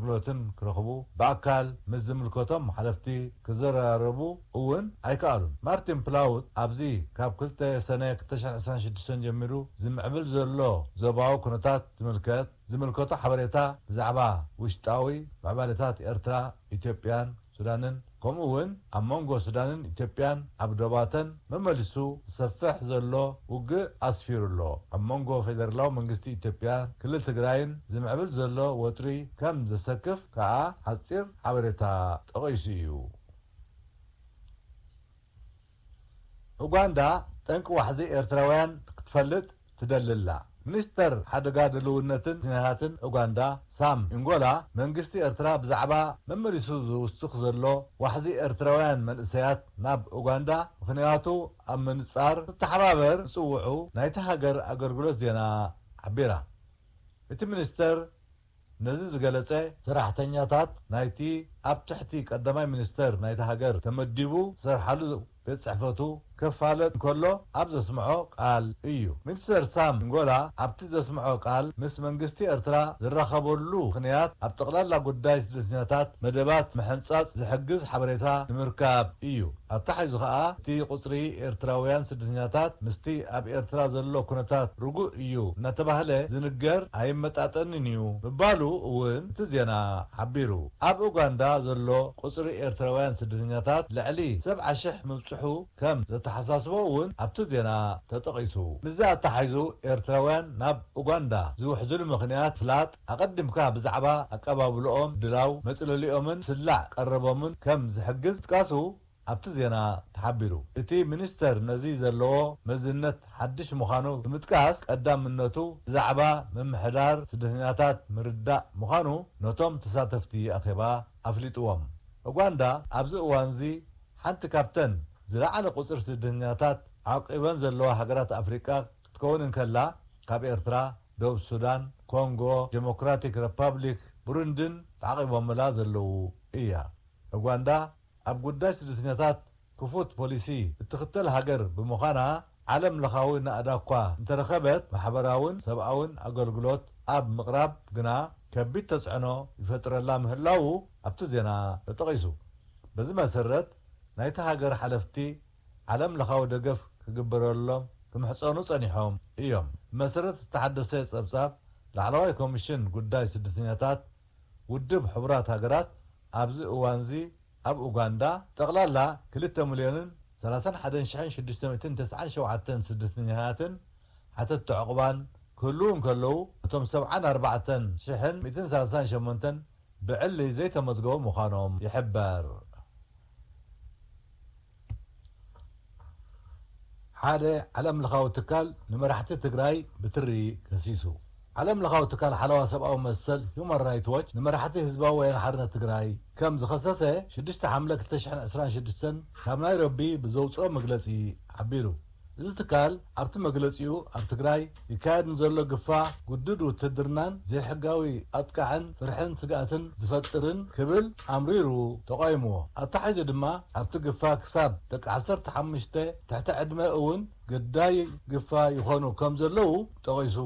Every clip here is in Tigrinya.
ኣገልግሎትን ክረኽቡ፣ ብኣካል ምስ ዝምልከቶም ሓለፍቲ ክዘራረቡ እውን ኣይከኣሉን። ማርቲን ፕላውት ኣብዚ ካብ ክልተ ሰነ ክልተ ሽሕን ዕስራን ሽዱሽተን ጀሚሩ ዝምዕብል ዘሎ ዞባዊ ኩነታት ዝምልከት ዝምልከቶ ሓበሬታ ብዛዕባ ውሽጣዊ ምዕባለታት ኤርትራ፣ ኢትዮጵያን ሱዳንን፣ ከምኡ እውን ኣብ መንጎ ሱዳንን ኢትዮጵያን ኣብ ዶባተን መመሊሱ ዝሰፍሕ ዘሎ ውግእ ኣስፊሩ ኣሎ። ኣብ መንጎ ፌደራላዊ መንግስቲ ኢትዮጵያን ክልል ትግራይን ዝምዕብል ዘሎ ወጥሪ ከም ዘሰክፍ ከኣ ሓጺር ሓበሬታ ጠቒሱ እዩ። ኡጋንዳ ጠንቂ ዋሕዚ ኤርትራውያን ክትፈልጥ ትደሊ ኣላ። ሚኒስተር ሓደጋ ድልውነትን ስደተኛታትን ኡጋንዳ ሳም ኢንጎላ፣ መንግስቲ ኤርትራ ብዛዕባ መመሊሱ ዝውስኽ ዘሎ ዋሕዚ ኤርትራውያን መንእሰያት ናብ ኡጋንዳ ምኽንያቱ ኣብ ምንጻር ዝተሓባበር ምጽውዑ ናይቲ ሃገር ኣገልግሎት ዜና ሓቢራ። እቲ ሚኒስተር ነዚ ዝገለጸ፣ ሰራሕተኛታት ናይቲ ኣብ ትሕቲ ቀዳማይ ሚኒስተር ናይቲ ሃገር ተመዲቡ ዝሰርሓሉ ቤት ጽሕፈቱ ከፋለጥ እንከሎ ኣብ ዘስምዖ ቃል እዩ። ሚኒስተር ሳም ኢንጎላ ኣብቲ ዘስምዖ ቃል፣ ምስ መንግስቲ ኤርትራ ዝራኸበሉ ምኽንያት ኣብ ጠቕላላ ጉዳይ ስደተኛታት መደባት ምሕንጻጽ ዝሕግዝ ሓበሬታ ንምርካብ እዩ። ኣተሓሒዙ ከኣ፣ እቲ ቁጽሪ ኤርትራውያን ስደተኛታት ምስቲ ኣብ ኤርትራ ዘሎ ኩነታት ርጉእ እዩ እናተባህለ ዝንገር ኣይመጣጠንን እዩ ምባሉ እውን እቲ ዜና ሓቢሩ። ኣብ ኡጋንዳ ዘሎ ቁጽሪ ኤርትራውያን ስደተኛታት ልዕሊ ሰብዓ ሽሕ ምብጽሑ ከም ዘተሓሳስቦ እውን ኣብቲ ዜና ተጠቒሱ። ምስዚ ኣተሓሒዙ፣ ኤርትራውያን ናብ ኡጋንዳ ዝውሕዝሉ ምኽንያት ፍላጥ፣ ኣቐዲምካ ብዛዕባ ኣቀባብልኦም፣ ድላው መጽለሊኦምን ስላዕ ቀረቦምን ከም ዝሕግዝ ምጥቃሱ ኣብቲ ዜና ተሓቢሩ። እቲ ሚኒስተር ነዚ ዘለዎ መዝነት ሓድሽ ምዃኑ ብምጥቃስ፣ ቀዳምነቱ ብዛዕባ ምምሕዳር ስደተኛታት ምርዳእ ምዃኑ ነቶም ተሳተፍቲ ኣኼባ ኣፍሊጥዎም። ኡጋንዳ ኣብዚ እዋንዚ ሓንቲ ካብተን ዝለዓለ ቁጽሪ ስደተኛታት ዓቂበን ዘለዋ ሃገራት ኣፍሪቃ ክትከውን እንከላ፣ ካብ ኤርትራ፣ ደቡብ ሱዳን፣ ኮንጎ ዴሞክራቲክ ረፓብሊክ፣ ብሩንድን ተዓቒቦምላ ዘለዉ እያ። ኡጋንዳ ኣብ ጉዳይ ስደተኛታት ክፉት ፖሊሲ እትኽተል ሃገር ብምዃና፣ ዓለም ለኻዊ ናእዳ እኳ እንተረኸበት፣ ማሕበራውን ሰብኣውን ኣገልግሎት ኣብ ምቕራብ ግና ከቢድ ተጽዕኖ ይፈጥረላ ምህላዉ ኣብቲ ዜና ተጠቒሱ። በዚ መሰረት፣ ናይቲ ሃገር ሓለፍቲ ዓለም ለኻዊ ደገፍ ክግበረሎም ክምሕጸኑ ጸኒሖም እዮም። ብመሰረት ዝተሓደሰ ጸብጻብ ላዕለዋይ ኮሚሽን ጉዳይ ስደተኛታት ውድብ ሕቡራት ሃገራት፣ ኣብዚ እዋንዚ ኣብ ኡጋንዳ ጠቕላላ ክልተ ሚልዮንን ሰላሳን ሓደን ሽሕን ሽዱሽተ ሚእትን ተስዓን ሸውዓተን ስደተኛታትን ሓተትቲ ዕቑባን ክህልዉ እንከለዉ፣ እቶም ሰብዓን ኣርባዕተን ሽሕን ሚእትን ሰላሳን ሸሞንተን ብዕሊ ዘይተመዝገቡ ምዃኖም ይሕበር። ሓደ ዓለም ለኻዊ ትካል ንመራሕቲ ትግራይ ብትሪ ከሲሱ። ዓለም ለኻዊ ትካል ሓለዋ ሰብኣዊ መሰል ሁማን ራይት ዎች ንመራሕቲ ህዝባዊ ወያነ ሓርነት ትግራይ ከም ዝኸሰሰ ሽዱሽተ ሓምለ ክልተ ሽሕን ዕስራን ሽዱሽተን ካብ ናይሮቢ ብዘውፅኦ መግለፂ ሓቢሩ። እዚ ትካል ኣብቲ መግለፂኡ ኣብ ትግራይ ይካየድ ንዘሎ ግፋ፣ ግዱድ ውትድርናን ዘይሕጋዊ ኣጥቃዕን ፍርሕን ስግኣትን ዝፈጥርን ክብል ኣምሪሩ ተቓይምዎ። ኣተሓሒዙ ድማ ኣብቲ ግፋ ክሳብ ደቂ ዓሰርተ ሓሙሽተ ትሕቲ ዕድመ እውን ግዳይ ግፋ ይኾኑ ከም ዘለዉ ጠቒሱ።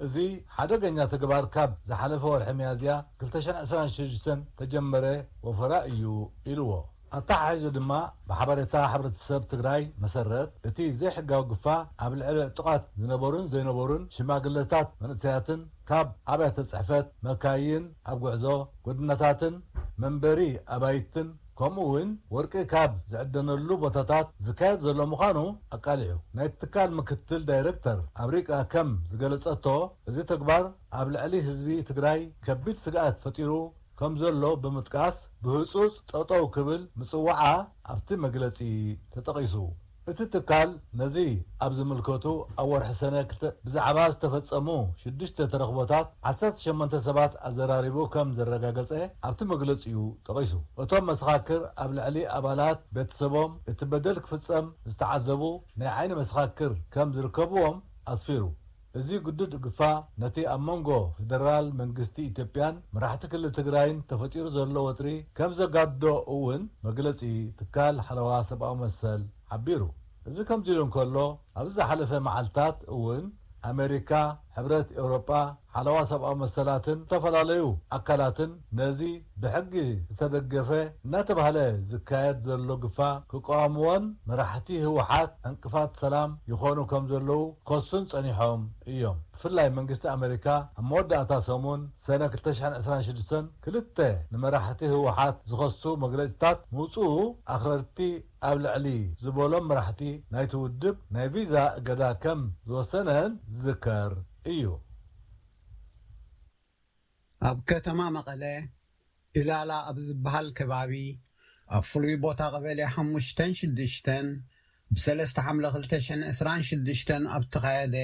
እዚ ሓደገኛ ተግባር ካብ ዝሓለፈ ወርሒ ሚያዝያ ክልተ ሽሕን ዕስራን ሽዱሽተን ተጀመረ ወፈራ እዩ ኢልዎ። ኣተሓሒዙ ድማ ብሓበሬታ ሕብረተሰብ ትግራይ መሰረት እቲ ዘይሕጋዊ ግፋ ኣብ ልዕሊ ዕጡቓት ዝነበሩን ዘይነበሩን ሽማግለታት መንእሰያትን ካብ ኣብያተ ጽሕፈት መካይን ኣብ ጉዕዞ ጎደናታትን መንበሪ ኣባይትን ከምኡ እውን ወርቂ ካብ ዝዕደነሉ ቦታታት ዝካየድ ዘሎ ምዃኑ ኣቃሊዑ። ናይቲ ትካል ምክትል ዳይረክተር ኣብ ሪቃ ከም ዝገለጸቶ፣ እዚ ተግባር ኣብ ልዕሊ ህዝቢ ትግራይ ከቢድ ስግኣት ፈጢሩ ከም ዘሎ ብምጥቃስ፣ ብህጹጽ ጠጠው ክብል ምጽዋዓ ኣብቲ መግለጺ ተጠቒሱ። እቲ ትካል ነዚ ኣብ ዝምልከቱ ኣብ ወርሒ ሰነ ክልተ ብዛዕባ ዝተፈጸሙ ሽዱሽተ ተረኽቦታት ዓሰርተ ሸሞንተ ሰባት ኣዘራሪቡ ከም ዘረጋገጸ ኣብቲ መግለጺኡ ጠቒሱ። እቶም መሰኻክር ኣብ ልዕሊ ኣባላት ቤተሰቦም እቲ በደል ክፍጸም ዝተዓዘቡ ናይ ዓይኒ መሰኻክር ከም ዝርከብዎም ኣስፊሩ። እዚ ግዱድ ግፋ ነቲ ኣብ መንጎ ፌደራል መንግስቲ ኢትዮጵያን መራሕቲ ክልል ትግራይን ተፈጢሩ ዘሎ ወጥሪ ከም ዘጋድዶ እውን መግለጺ ትካል ሓለዋ ሰብኣዊ መሰል ሓቢሩ። እዚ ከምዚ ኢሉ እንከሎ፣ ኣብዚ ዝሓለፈ መዓልታት እውን ኣሜሪካ፣ ሕብረት ኤውሮጳ፣ ሓለዋ ሰብኣዊ መሰላትን ዝተፈላለዩ ኣካላትን ነዚ ብሕጊ ዝተደገፈ እናተባህለ ዝካየድ ዘሎ ግፋ ክቃወምዎን መራሕቲ ህወሓት ዕንቅፋት ሰላም ይኾኑ ከም ዘለዉ ከሱን ጸኒሖም እዮም። ብፍላይ መንግስቲ ኣሜሪካ ኣብ መወዳእታ ሰሙን ሰነ ክልተ ሽሕን ዕስራን ሽዱሽተን ክልተ ንመራሕቲ ህወሓት ዝኸሱ መግለጽታት ምውጽኡ ኣኽረርቲ ኣብ ልዕሊ ዝበሎም መራሕቲ ናይቲ ውድብ ናይ ቪዛ እገዳ ከም ዝወሰነን ዝዝከር እዩ። ኣብ ከተማ መቐለ ኢላላ ኣብ ዝበሃል ከባቢ ኣብ ፍሉይ ቦታ ቀበሌ ሓሙሽተን ሽዱሽተን ብሰለስተ ሓምለ ክልተ ሽሕን ዕስራን ሽዱሽተን ኣብ ተኻየደ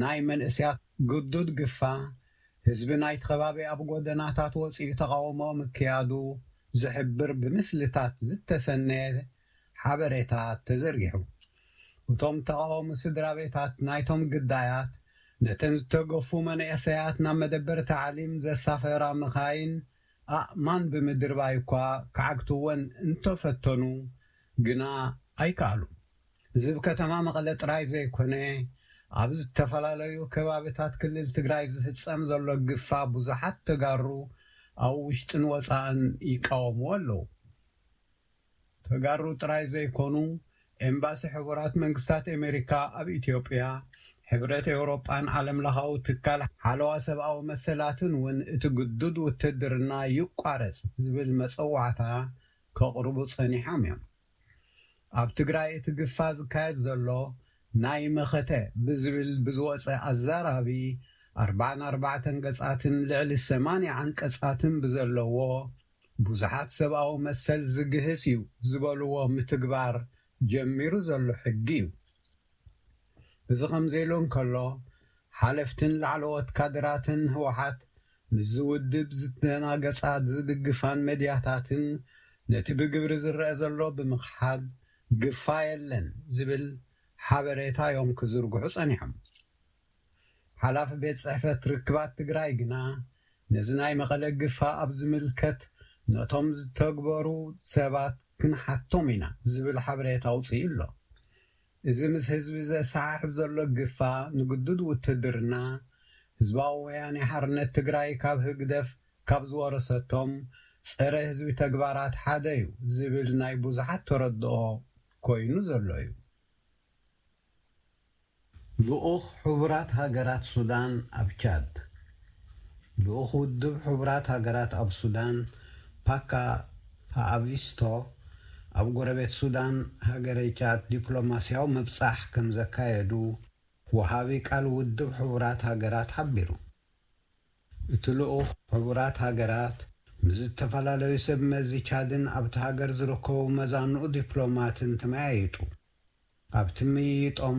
ናይ መንእስያት ግዱድ ግፋ ህዝቢ ናይቲ ከባቢ ኣብ ጎደናታት ወፂኡ ተቃውሞ ምክያዱ ዝሕብር ብምስልታት ዝተሰነየ ሓበሬታ ተዘርጊሑ። እቶም ተቃወሚ ስድራ ቤታት ናይቶም ግዳያት ነተን ዝተገፉ መንእሰያት ናብ መደበር ታዕሊም ዘሳፈራ መኻይን ኣእማን ብምድርባይ እኳ ክዓግትወን እንተፈተኑ ግና ኣይከኣሉን። እዚ ብከተማ መቐለ ጥራይ ዘይኮነ ኣብ ዝተፈላለዩ ከባብታት ክልል ትግራይ ዝፍጸም ዘሎ ግፋ ብዙሓት ተጋሩ ኣብ ውሽጥን ወፃእን ይቃወምዎ ኣለዉ። ተጋሩ ጥራይ ዘይኮኑ ኤምባሲ ሕቡራት መንግስታት ኣሜሪካ ኣብ ኢትዮጵያ፣ ሕብረት ኤውሮጳን ዓለም ለኻዊ ትካል ሓለዋ ሰብኣዊ መሰላትን እውን እቲ ግዱድ ውትድርና ይቋረጽ ዝብል መጸዋዕታ ከቕርቡ ጸኒሖም እዮም። ኣብ ትግራይ እቲ ግፋ ዝካየድ ዘሎ ናይ መኸተ ብዝብል ብዝወፀ ኣዛራቢ ኣርባዓን ኣርባዕተን ገጻትን ልዕሊ ሰማንያ ዓንቀጻትን ብዘለዎ ብዙሓት ሰብኣዊ መሰል ዝግህስ እዩ ዝበልዎ ምትግባር ጀሚሩ ዘሎ ሕጊ እዩ። እዚ ከምዚ ኢሉ እንከሎ ሓለፍትን ላዕለዎት ካድራትን ህወሓት ምስዚ ውድብ ዝተናገጻ ዝድግፋን መድያታትን ነቲ ብግብሪ ዝረአ ዘሎ ብምኽሓድ ግፋ የለን ዝብል ሓበሬታ እዮም ክዝርግሑ ጸኒሖም። ሓላፊ ቤት ጽሕፈት ርክባት ትግራይ ግና ነዚ ናይ መቐለ ግፋ ኣብ ዝምልከት ነቶም ዝተግበሩ ሰባት ክንሓቶም ኢና ዝብል ሓበሬታ ኣውፅኡ ኣሎ። እዚ ምስ ህዝቢ ዘሰሓሕብ ዘሎ ግፋ ንግዱድ ውትድርና ህዝባዊ ወያኔ ሓርነት ትግራይ ካብ ህግደፍ ካብ ዝወረሰቶም ፀረ ህዝቢ ተግባራት ሓደ እዩ ዝብል ናይ ብዙሓት ተረድኦ ኮይኑ ዘሎ እዩ። ልኡኽ ሕቡራት ሃገራት ሱዳን ኣብ ቻድ። ልኡኽ ውድብ ሕቡራት ሃገራት ኣብ ሱዳን ፓካ ፓኣቪስቶ ኣብ ጎረቤት ሱዳን ሃገረ ቻድ ዲፕሎማስያዊ ምብጻሕ ከም ዘካየዱ ወሃቢ ቃል ውድብ ሕቡራት ሃገራት ሓቢሩ። እቲ ልኡኽ ሕቡራት ሃገራት ምስ ዝተፈላለዩ ሰብ መዚ ቻድን ኣብቲ ሃገር ዝርከቡ መዛንኡ ዲፕሎማትን ተመያይጡ። ኣብቲ ምይይጦም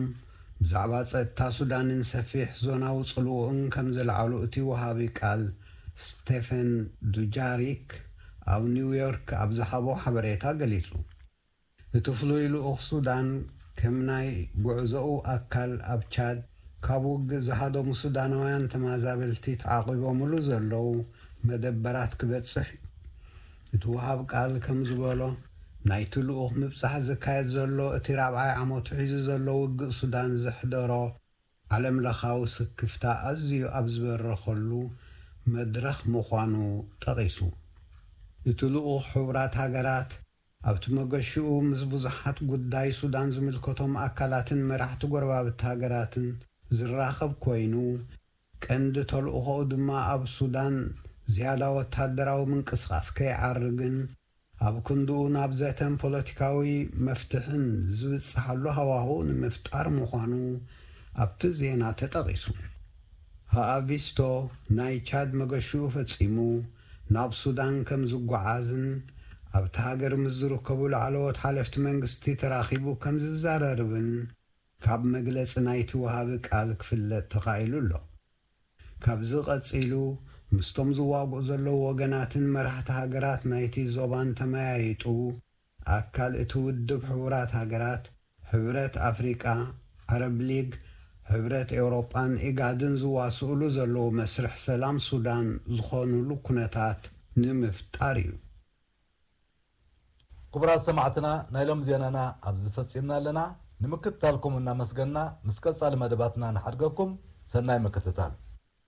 ብዛዕባ ጸጥታ ሱዳንን ሰፊሕ ዞናዊ ጽልውኡን ከም ዘልዓሉ እቲ ወሃቢ ቃል ስቴፈን ዱጃሪክ ኣብ ኒውዮርክ ኣብ ዝሃቦ ሓበሬታ ገሊጹ። እቲ ፍሉይ ልኡኽ ሱዳን ከም ናይ ጉዕዞኡ ኣካል ኣብ ቻድ ካብ ውግእ ዝሃደሙ ሱዳናውያን ተመዛበልቲ ተዓቒቦምሉ ዘለዉ መደበራት ክበጽሕ እዩ። እቲ ወሃብ ቃል ከም ዝበሎ ናይቲ ልኡኽ ምብጻሕ ዝካየድ ዘሎ እቲ ራብዓይ ዓመቱ ሒዙ ዘሎ ውግእ ሱዳን ዘሕደሮ ዓለም ለኻዊ ስክፍታ ኣዝዩ ኣብ ዝበረኸሉ መድረኽ ምዃኑ ጠቒሱ። እቲ ልኡኽ ሕቡራት ሃገራት ኣብቲ መገሽኡ ምስ ብዙሓት ጉዳይ ሱዳን ዝምልከቶም ኣካላትን መራሕቲ ጎረባብቲ ሃገራትን ዝራኸብ ኮይኑ፣ ቀንዲ ተልእኾኡ ድማ ኣብ ሱዳን ዝያዳ ወታደራዊ ምንቅስቓስ ከይዓርግን ኣብ ክንድኡ ናብ ዘተን ፖለቲካዊ መፍትሕን ዝብጽሓሉ ሃዋህው ንምፍጣር ምዃኑ ኣብቲ ዜና ተጠቒሱ። ሃኣቪስቶ ናይ ቻድ መገሽኡ ፈጺሙ ናብ ሱዳን ከም ዝጓዓዝን ኣብቲ ሃገር ምስ ዝርከቡ ላዕለዎት ሓለፍቲ መንግስቲ ተራኺቡ ከም ዝዘራረብን ካብ መግለጺ ናይቲ ወሃቢ ቃል ክፍለጥ ተኻኢሉ ኣሎ። ካብዚ ቀጺሉ ምስቶም ዝዋግኡ ዘለዉ ወገናትን መራሕቲ ሃገራት ናይቲ ዞባን ተመያይጡ ኣካል እቲ ውድብ ሕቡራት ሃገራት፣ ሕብረት ኣፍሪቃ፣ ዓረብ ሊግ፣ ሕብረት ኤውሮጳን ኢጋድን ዝዋስኡሉ ዘለዉ መስርሕ ሰላም ሱዳን ዝኾኑሉ ኩነታት ንምፍጣር እዩ። ክቡራት ሰማዕትና ናይ ሎም ዜናና ኣብዚ ፈጺምና ኣለና። ንምክትታልኩም እናመስገና ምስ ቀጻሊ መደባትና ንሓድገኩም። ሰናይ ምክትታል።